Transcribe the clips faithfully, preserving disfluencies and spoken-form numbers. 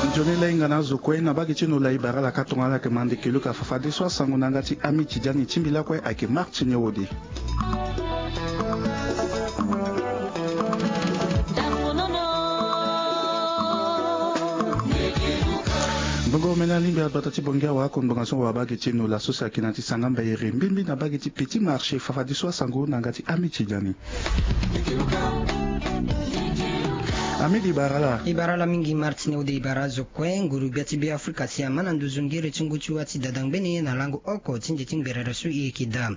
Nzoni lainga na azo kue na bage ti nola ibara laka tonga ala yeke mande keluka fafadeso asango na yanga ti ami ti diani ti mbi lakue ayeke martine wode. Mbongo mena lingbi agbata ti bongi awa ako ngbanga so wa bage ti nola so si ayeke na ti sanga mbairi mbimbi na bage ti petit marché fafadeso asango na yanga ti ami ti diani. Amidi barala. Ibara la mingi martine ode ibara zo kue nguru gbia ti be afrika si ama na nduzu ngere ti ngu ti wa ti dada ngbene na lango oko ti nze ti ngberere so i yeke daa.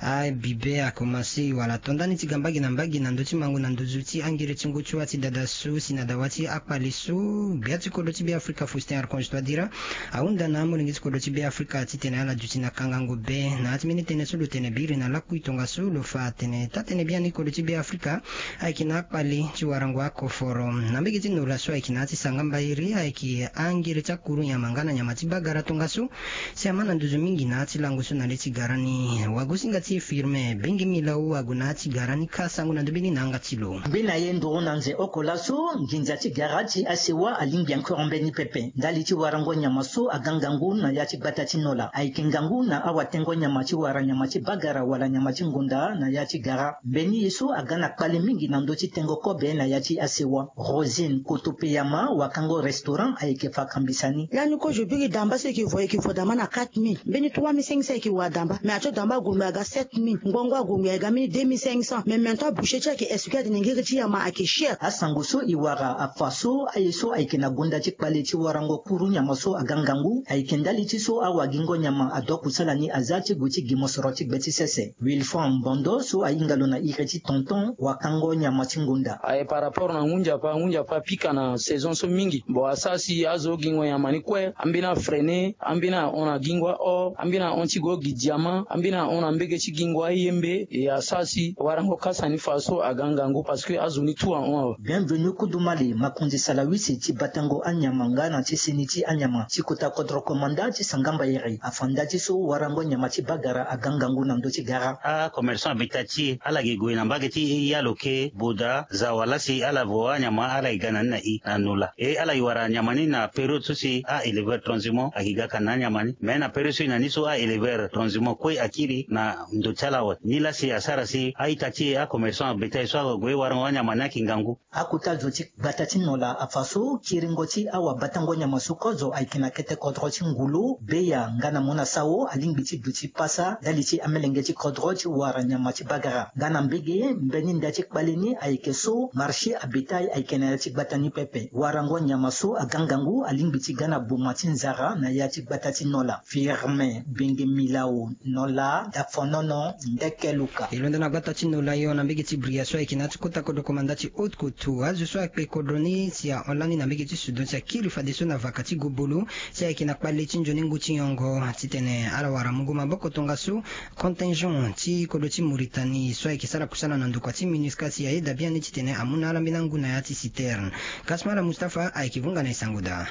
Abibe akomase wala tondani ti ga mbage na mbage na ndö ti mango na nduzu ti angere ti ngu ti wa ti dada so si na dawa ti akpale so gbia ti kodro ti be afrika faustin archange toadira ahunda na amolenge ti kodro ti be afrika titene ala duti na kangango be na ya ti mbeni tënë so lo tene biri na lakui tongaso lo fa atene taa-tënë biani kodro ti be afrika ayeke na akpale ti warango akoforo na mbege ti nola so ayeke na ya ti sanga mbairi ayeke angere ti akuru nyama nga na nyama ti bagara tongaso si ama na nduzu mingi na ya ti lango so na le ti gara ni wagosinga ti e firme benge milao ague na ya ti gara ni kâ sango na ndo mbeni na yanga ti lo. Mbi na ye nduru na nze oko laso nginza ti gara ti asewa alingbi ankoro mbeni pepe ndali ti warango nyama so aga ngangu na ya ti gbata ti nola ayeke ngangu na awatengo nyama ti wara nyama ti bagara wala nyama ti ngonda na ya ti gara mbeni ye so aga na kpale mingi na ndö ti tengo kobe na ya ti asewa. Rosine kotopeyama wakango restaurant ayeke fa kambisa ni. Lani kozo biri damba so eke vo eke vo damba na quatre mille mbeni trois mille cinq cents eke wa damba mais ato damba agongbi aga sept mille ngbongo agongbi aga mbeni deux mille cinq cents mais maintenant boucher ti eke expliquer atene ngiri ti yama ake cher. Asango so e wara afa so aye so ayeke na gonda ti kpale ti warango kuru nyama so aga ngangu ayeke ndali ti so awagingo nyama adoku sala ni aza ti gue ti gi mosoro ti gbe ti sese wilfran mbondo so ahinga lo na iri ti tonton wakango nyama ti ngonda. Aye par rapport na ngu nzapa ngu nzapa apika na saison so mingi bon asara si azo gingo nyama ni kue ambeni afreine ambeni ahon na gingo aor ambeni ahon ti go gi diama ambeni ahon na mbege ti gingo ayembe e asara si warango kasa ni fa so aga ngangu parce que azo ni tout ahon awe. Bienvenu kudumali makonzi salawisi ti batango anyama nga na ti seni ti anyama ti kota kodro komanda ti sangamba iri afa nda ti so warango nyama ti bagara aga ngangu na ndö ti gara. Akomerson abita ti e ala gi gue na mbage ti e ya lo ke boda zawa lasi ala vo anyama ala gi ga na ni na i na nola e ala gi wara nyama ni na période so si a éleveur transimon agi ga ka na anyama ni mais na période so i na ni so a éleveur transimon kue akiri na ndo ti ala awe ni lasi asara si a-ita ti e akomerson abeta e so ague warango anyama ni ayeke ngangu. Akota zo ti gbata ti nola afa so kiringo ti awabatango nyama so kozo ayeke na kete kodro ti ngulu beya nga na mona sawo alingbi ti duti pasa ndali ti amelenge ti kodro ti wara nyama ti bagara nga na mbege mbeni nda ti kpale ni ayeke so marché abetail ayeke na ya ti gbata ni pepe warango nyama so aga ngangu alingbi ti ga na boma ti nzara na ya ti gbata ti nola. Firme benge milao nola dafonono ndeke luka. E londo na gbata ti nola yo na mbege ti bria so ayeke na ya ti kota kodro komanda ti haute kotu azo so akpe kodro ni si ahon lani na mbege ti sudan si akiri fadeso na vaka ti gobolo si ayeke na kpale ti nzoni ngu ti nyongo titene ala wara mungo maboko tongaso contingent ti kodro ti mauritanie so ayeke sara kusala na ndokua ti minusca si ayeda biani titene amu na ala mbeni angu na ya ti citerne. Kasmala mustapha ayeke vunga na e sango daa.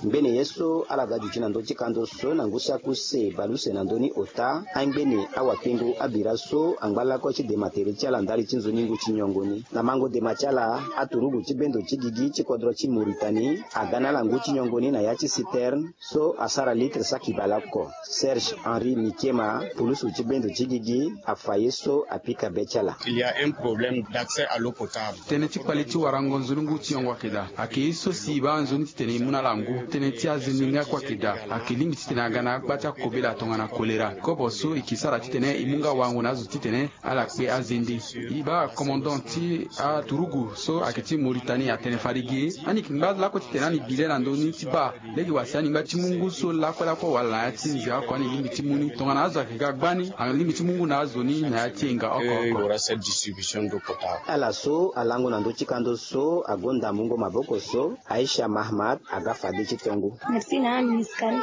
Ngbene ye so ala ga duti na ndö ti kando so na ngu si akuse baleuse na ndö ni ota angbene awakengo abira so angba lakue ti dema tere ti ala ndali ti nzoni ngu ti nyongo ni na mango dema ti ala aturugu ti bendo ti gigi ti kodro ti mauritanie aga na ala ngu ti nyongo ni na ya ti citerne so asara litre saki baleoko. Serge henri mikema pulusu ti bendo ti gigi afa ye so apika be ti ala. Il ya un problème d'accès à l'eau potable. Tënë ti kpale ti warango nzoni ngu ti yongo ayeke daa ayeke ye so si e baa nzoni titene e mu na ala ngu tënë ti azende ni akue ayeke daa ayeke lingbi titene aga na agba ti akobela tongana kolera kobo so e ke sara titene e mu nga wango na azo titene ala kpe azende. E baa commandant ti aturugu so ayeke ti mauritanie atene fade ge ani yeke ngba lakue titene ani bi le na ndö ni ti baa lege wa si aningba ti mu ngu so lakue lakue wala na ya ti nze oko ani lingbi ti mu ni tongana azo ayeke ga gbani alingbi ti mu ngu na azo ni na ya ti enga oko oko. Ala so alango na ndö ti kando so agonda mungo maboko so aisha mahamat aga fade ti Tongo. Merci na aministre ni.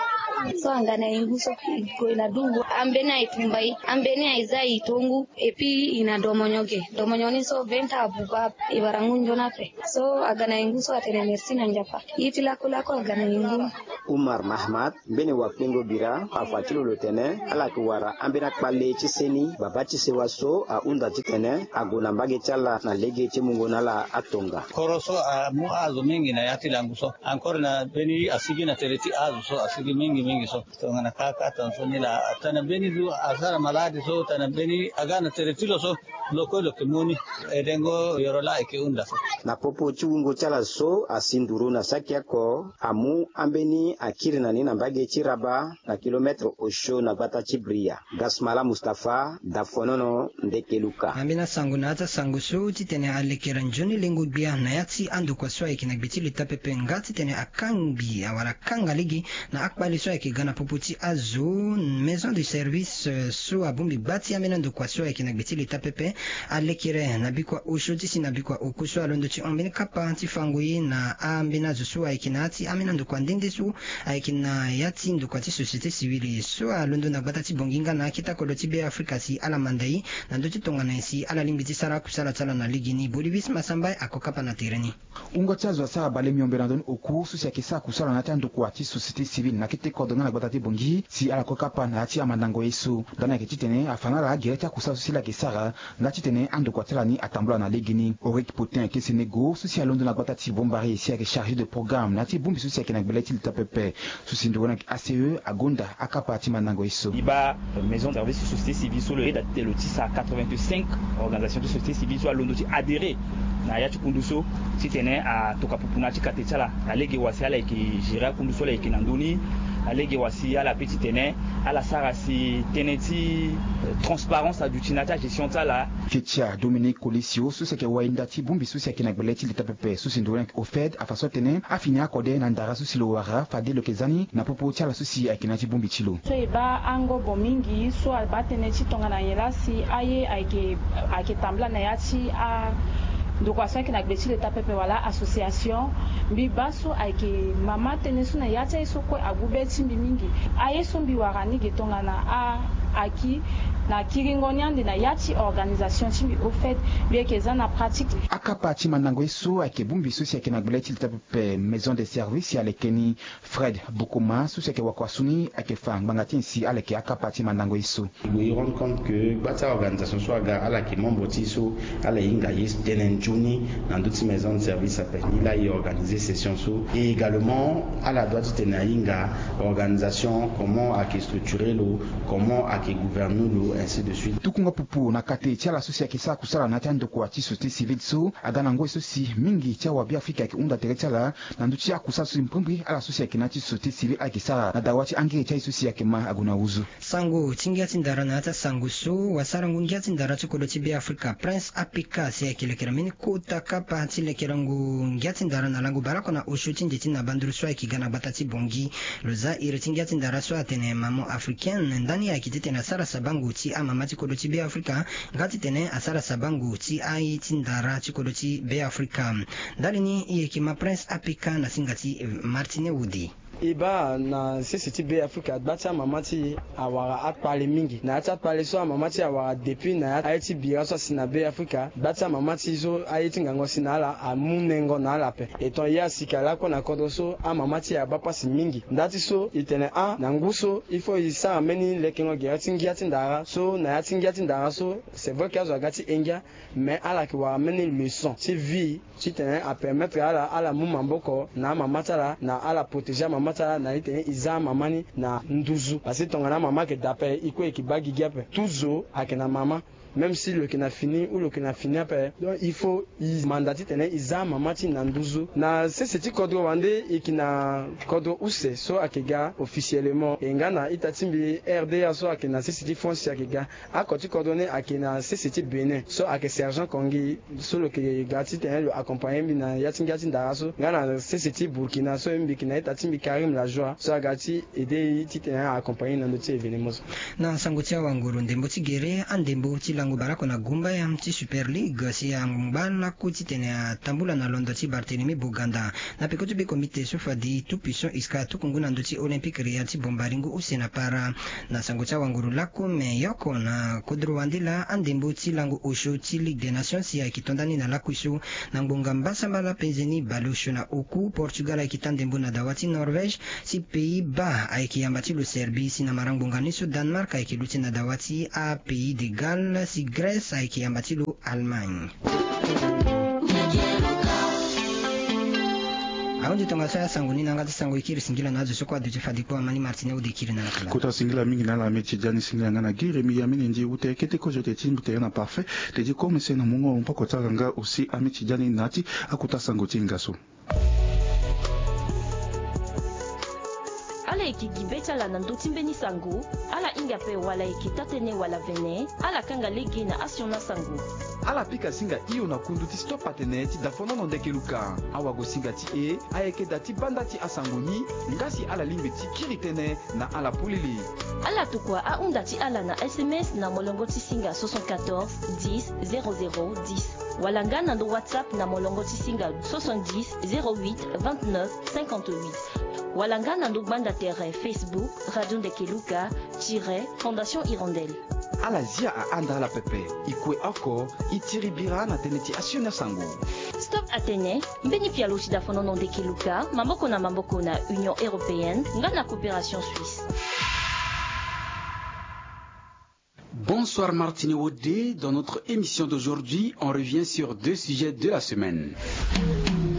So anga na e ngu so e gue na dungu ambeni aye tumba e, ambeni aye za e tongu. Et puis e na domonyo ge, domonyo ni so venta abuba e bara ngu nzoni ape. So aga na e ngu so atene merci na nzapa. Ye ti lakolako aga na e ngu. Umar Mahmad, mbeni wakpengo bira afa ti lo lo tene ala yeke wara ambeni akpale ti seni baba ti sewa so ahunda titene ague na mbage ti ala na lege ti mungo na ala atonga. Koro so amu azo mingi na ya ti langu so. Encore na mbeni asigi na tere ti azo so asigi mingi mingi so. Tongana kaka tongaso ni laa atana mbeni zo asara maladi so tana mbeni aga na tere ti lo so. Lo kue lo yeke mu ni. Edengo yoro laa e yeke hunda so. Na popo ti wungo ti ala so asi nduru na saki oko amu ambeni akiri na ni na mbage ti Rabat na kilometre osio na gbata ti Bria. Gasmala Mustapha, Dafonono, Ndekeluka. Ambeni asango na ya ti asango so titene alekere nzoni lengo gbia na ya ti andokua so ayeke na gbe ti leta pepe nga titene akangbi awara kanga lege na akpale so ayeke ga na popo ti azo. Maison de service so abongbi gba ti ambeni andokua so ayeke na gbe ti leta pepe alekere na bikua osio ti si na bikua oku so alondo ti hon mbeni kapa ti fango ye na ambeni azo so ayeke na ya ti ambeni andokua nde nde so ayeke na ya ti ndokua ti société civile so alondo na gbata ti Bangui nga na akete kodro ti Be Afrika si ala manda e na ndö ti tongana nyen si ala lingbi ti sara akusala ti ala na legeni. Bolivis Masambai ako kapa na tere ni. Wungo ti azo asara bale miombe na ndö ni oku so si ayeke sara kusala na ya ti andokua ti société civile na akete kodro nga na gbata ti Bangui si ala ko kapa na ya ti amandango ye so. Ndani ayeke titene afa na ala agere ti akusala so si ala yeke sara nga titene andokua ti ala ni atambula na legeni. Auric Potin Kesenego so si alondo na gbata ti Bombari si ayeke chargé de programme na ya ti bongbi so si ayeke na gbele ti leta pepe. So si nduru ni ayeke A C E agonda akapa ti mandango ye so. E baa maison de service ti société civile so lo yeda titene lo tisa quatre-vingt-cinq organisation ti société civile so alondo ti adhérer na ya ti kundu so titene atoka pupu na ya ti kate ti ala na lege wa si ala yeke gérer akundu so ala yeke na ndö ni. Na lege wa si ala pe titene ala sara si tënë ti transparence aduti na ya ti agestion ti ala. Ketia Dominique Colisio so si ayeke wainda ti bongbi so si ayeke na gbele ti leta pepe so si nduru ni ayeke OFED afa so atene afini akode na ndara so si lo wara fade lo yeke za ni na popo ti ala so si ayeke na ya ti bongbi ti lo. So e baa angobo mingi so abaa tënë ti tongana nyen laa si aye ayeke ayeke tambula na ya ti andokua so ayeke na gbe ti leta pepe wala association. Mbi baa so ayeke mama tënë so na ya ti aye so kue agu be ti mbi mingi. Aye so mbi wara ni ge tongana a aki na kiringo ni ande na ya ti organisation ti mbi OFED mbi yeke za na pratique. Akapa ti mandango ye so ayeke bongbi so si ayeke na gbele ti leta pepe maison de service ya leke ni. Fred Bukuma so si ayeke wakua su ni ayeke fa ngbanga ti nyen si ala yeke akapa ti mandango ye so. E gue e rendre compte que gba ti aorganisation so aga ala yeke membre ti e so ala hinga ye tënë nzoni na ndö ti maison de service ape ni laa e organiser session so. Et également ala doit titene ahinga organisation comment ayeke structurer lo, comment ayeke gouverner lo, ainsi de suite. Tukunga pupu na kate ti ala so si ayeke sara kusala na ya ti andokua ti société civile so aga na ngoi so si mingi ti awabiafrika ayeke hunda tere ti ala na ndö ti akusala so si mbrimbri ala so si ayeke na ya ti société civile ayeke sara na dawa ti angiri ti aye so si ayeke ma ague na nduzu. Sango ti ngia ti ndara na ya ti asango so wasarango ngia ti ndara ti kodro ti Beafrika Prince Apika si ayeke lekere mbeni kota kapa ti lekerengo ngia ti ndara na lango baleoko na osio ti nde ti na banduru so ayeke ga na gbata ti Bangui. Lo za iri ti ngia ti ndara so atene Maman Africaine ndani ayeke titene asara sabango ti amama ti kodro ti Beafrika nga titene asara sabango ti aye ti ndara ti kodro ti Beafrika. Ndali ni e yeke ma Prince Apika na singa ti Martine Wode. E baa na sese ti Beafrika gba ti amama ti e awara akpale mingi. Na ya ti akpale so amama ti e awara depuis na ya aye ti bira so asi na Beafrika, gba ti amama ti e so aye ti ngango asi na ala amu nengo na ala ape. E ton ye asi ka lakue na kodro so amama ti e abaa pasi mingi. Nda ti so e tene a na ngu so il faut e sara mbeni lekengo gere ti ngia ti ndara so na ya ti ngia ti ndara so c'est vrai que azo aga ti e ngia. Mais ala yeke wara mbeni leçon ti vie titene apermettre ala ala mu maboko na amama ti ala na ala protéger amama ti ala na itene e za amama ni na nduzu. Parce que tongana amama ayeke daa ape e kue e yeke baa gigi ape. Tout zo ayeke na mama. Même si lo yeke na fini ou lo yeke na fini ape, donc il faut e manda titene e za amama ti e na nduzu. Na sese ti kodro wande e yeke na kodro use so ayeke ga officiellement e nga na ita ti mbi R D A so ayeke na sese ti France si ayeke ga. Ako ti kodro ni ayeke na sese ti Bénin so ayeke Sergent Kongi so lo yeke ga titene lo accompagner mbi na ya ti ngia ti ndara so nga na sese ti Burkina so mbi yeke na ita ti mbi Karim Lajoie so aga ti aider e titene a accompagner e na ndö ti événement so. Na sango ti awanguru ndembo ti gere andembo ti lango. Ngu bale oko na gumba ya ti Super League si angba laku titene atambula na londo ti Barthélemy Boganda. Na peko ti be komite so fadi Tout Puissant Iska atuku ngu na ndö ti Olympique Real ti Bombari ngu use na para. Na sango ti awanguru laku me yoko na kodro wande laa andembo ti lango osio ti Ligue des Nations si ayeke to nda ni na laku so. Na ngbonga mbasambala penze ni baleosio na oku, Portugal ayeke ta ndembo na dawa ti Norvège, si Pays-Bas ayeke yamba ti lo Serbie, si na marangbonga ni so Danemark ayeke luti na dawa ti aPays de Galles, si Grèce ayeke yamba ti lo Allemagne. Ahunzi tongaso ya sango ni na yanga ti sango e kiri singila na azo so kue aduti fadi kue amani Martine Ode kiri na lakala. Kota singila mingi na ala ameti diani singila nga na gere mi ya mene ndi ute kete kozo te ti mbi te na parfait. Te ti komese na mungo mpoko ti ala nga aussi ameti diani na ya ti akuta sango ti hinga so. Ala yeke gi be ti ala na ndö ti mbeni sango. Ala hinga ape wala ayeke taa-tënë wala vene, ala kanga lege na asioni asango. Ala pika singa hio na kundu ti Stop Atene ti dafonono ndeke luka. Awagosinga ti e ayeke da ti banda ti asango ni. Nga si ala lingbi ti kiri tënë na ala polele. Ala tokua ahunda ti ala na S M S na molongo ti singa soixante-quatorze dix zéro zéro dix, wala nga na ndo WhatsApp na molongo ti singa soixante-dix zéro huit vingt-neuf cinquante-huit, wala nga na ndo gbanda tere Facebook Radio Ndeke Luka tiret Fondation Hirondelle. Ala zia ahanda ala pepe. E kue oko e tiri bira na tënë ti asioni asango. Stop Atene, mbeni pialo ti dafonono ndeke luka maboko na maboko na Union Européenne nga na Coopération Suisse. Bonsoir Martine Wodé. Dans notre émission d'aujourd'hui, on revient sur deux sujets de la semaine.